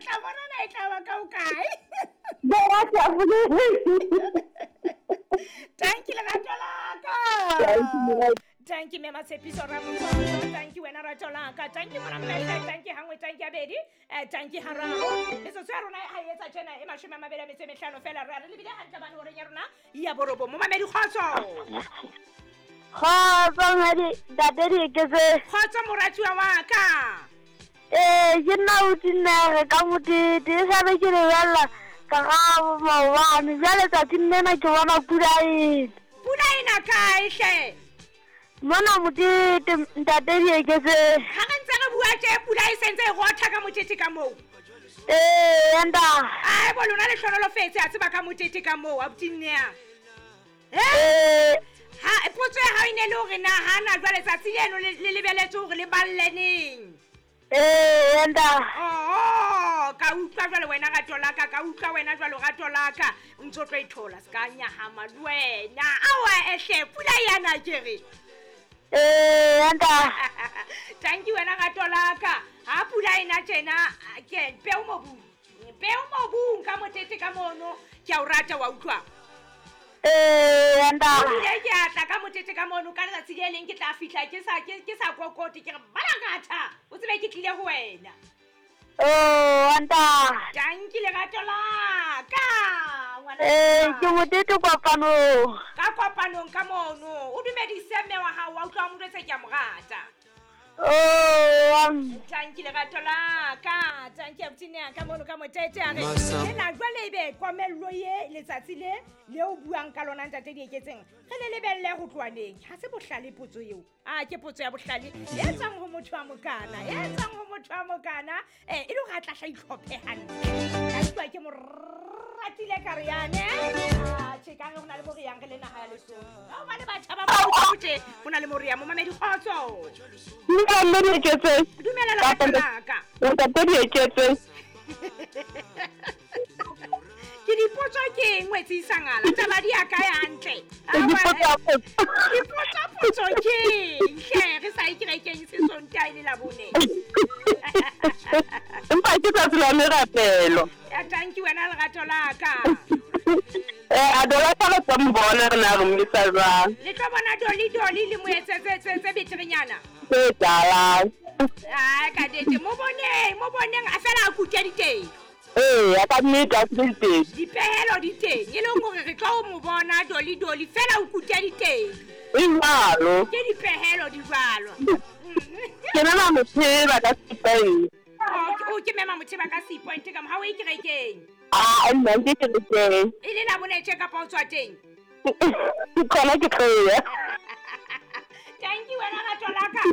tla bona na e tla ba ka o kae. Tanki lerato la ka. Tanki mme Matshepiso Ramotsonto, tanki wena rato la ka, tanki mona mmehle, tanki hangwe, tanki habedi, tanki hararo. Metsotso ya rona ha e etsa tjena e 25 fela, re a re lebile hantle bane horeng ya rona ya borobong. Momamedi kgotso. Kgotso mmadi, ntate Dieketseng. Kgotso moratuwa wa ka. Ee, ke nna Otinere ka Motete, e sale ke lebella ka ga maobane, jwale tsatsing lena ke bona pula ena. Pula ena kae hle? Mona Motete, ntate Dieketseng. Ha re ntse re bua tje, pula e sentse e rotha ka Motete ka moo. Ee, nta. Ai bo lona le hlonolofetse, a tseba ka Motete ka moo, abuti Nnea. Ee. Ha potso ya hao e ne le hore na ha na jwale tsatsi leno le lebeletse hore le balle neng? Ee, nta. Oh, ka utlwa jwale wena rato la ka, ka utlwa wena jwale rato la ka. O ntso tlo ithola se ka nyahama le wena. Awa ehle, pula yana ke re. Ee, nta. Thank you wena rato la ka. Ha pula ena tjena, ke peo mobung. Peo mobung ka Motete ka mono, ke a o rata wa utlwa. Ee, nta. Ebile ke a tla ka Motete ka mono, ka letsatsi le leng ke tla fihla ke sa kokote, ke re balakatha, o tsebe ke tlile ho wena. Oh, nta. Tanki lerato la ka, ngwana. Ee, ke Motete kopanong. Ka kopanong ka mono, o dumedise mme wa hao, wa utlwa o mo jwetse ke a mo rata. Oh, tanki lerato la ka, tanki abuti Nea ka mono ka Motete a re, ena jwale ebe komello ye letsatsi le le o buang ka lona ntate Dieketseng, re le lebelle ho tloha neng? Ha se bohlale potso eo. A ke potso ya bohlale e tswang ho motho wa mokana, e tswang ho motho wa mokana, e le hore a tla hla itlhophe hantle. Ka utlwa ke mo ratile ka re yane. A tjhe, ka re ho na le mo re yang re le naha ya Lesotho. Ka hobane batjha ba ba tje, ho na le mo re yang, momamedi kgotso. Dumela Dieketseng. Dumela lerato la ka. Ntate Dieketseng. Ke dipotso ke eng wetse isangala? Taba di ya kae hantle? Dipotso potso ke eng? Hle, re sa e kerekeng se Sontaha e le Labone. Empa ke tsatsi la merapelo. Ya tanki wena lerato la ka. A dola ka re tlo mbona re na re mmisa jwang. Le tlo bona doli doli le mo etsetse tse beterenyana. Tse tsalang. Ah, ka dete mo boneng, mo boneng a fela a kutya diteng. Ee, a ka nnete a kutya diteng. Dipehelo di teng, e leng hore re tlo mo bona doli doli fela o kutya diteng. E jwalo. Ke dipehelo di jwalo. Ke mema Motheba ka Seapoint. O ke mema Motheba ka Seapoint ka mo ha o e kerekeng. Ah, nna ke kerekeng. E le Labone tje kapa o tswa teng? Ke khona ke tloya. Thank you wena rato la ka.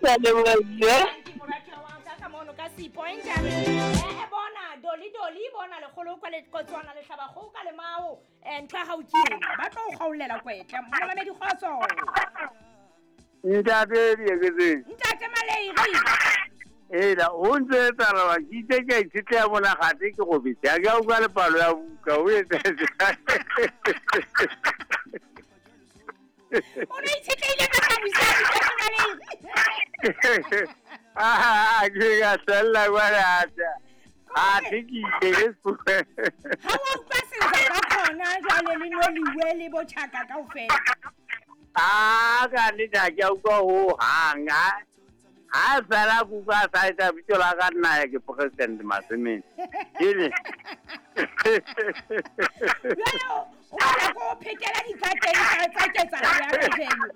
Ke a leboha. Thank you moratuwa wa ka ka mono ka Seapoint. Bona doli doli bona lekgolo kwa le kotswana le hlaba kgoho ka lemao. Ntho ya hao ke eng? Ba tlo o kgaolela kwetle. Momamedi kgotso. Ntate Dieketseng. Ntate Maleiri. Ela, o ntse etsahala wa ke itse ke a itshetleha mona gate ke robetse. Ha ke a utlwa le palo ya buka, o etsa jwang? O no itshetlehile ka thabiso, Ntate Maleiri. Ah, ke ka hlella kwana ata. A ke ke ile ke Ha wa utlwa senza ka khona jwale le noliwe le botjhaka kaofela. Ah, ka nnete ha ke a utlwa ho hang. Ha fela kuka sa etsa bitso la ka nna ya ke President Masemeng. Ke Jwale o batla ko phekela dikateng tsa ketsahalo ya kajeno.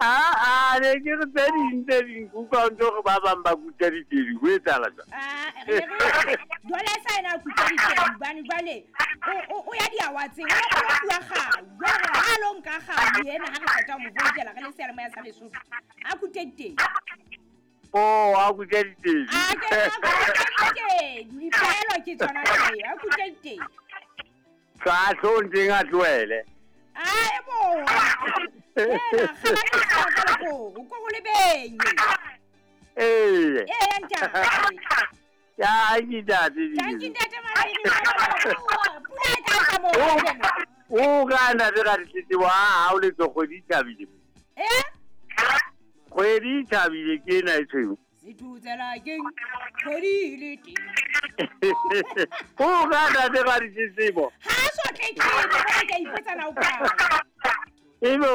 Ah, ne ke re tse ding tse ding kuka o ntso re ba bang ba kuta ditedi, ho etsahala jwang? Ah, re re jwale sa ena kuta ditedi hobane jwale o ya diawatseng, o lo bua kgau. Jwale ha lo nka kgau yena ha re qeta ho mo voutela re le seyalemoya sa Lesotho. A kute ditedi. Oh, a kute ditedi. A ke a kute ditedi. Dipehelo ke tsona tseo, a kute ditedi. Sa tlo ntseng a tlohele. Ai bo. Ena kgala ka lekoko, ko go lebenye. Ee. Ee, ntate. Ya, ke ntate. Thank you, ntate Maleiri. Pula e tla tla moo kajeno. O ka ntate ka ditletlebo, ha o le tlo kgwedi e thabile. Eh? Kgwedi e thabile ke ena e tshweu. Sethutsela keng kgwedi e le teng. O ka tate ga ditletlebo. Ha a so tletlebe, jwale ke a ipotsa na o kae. Ebe.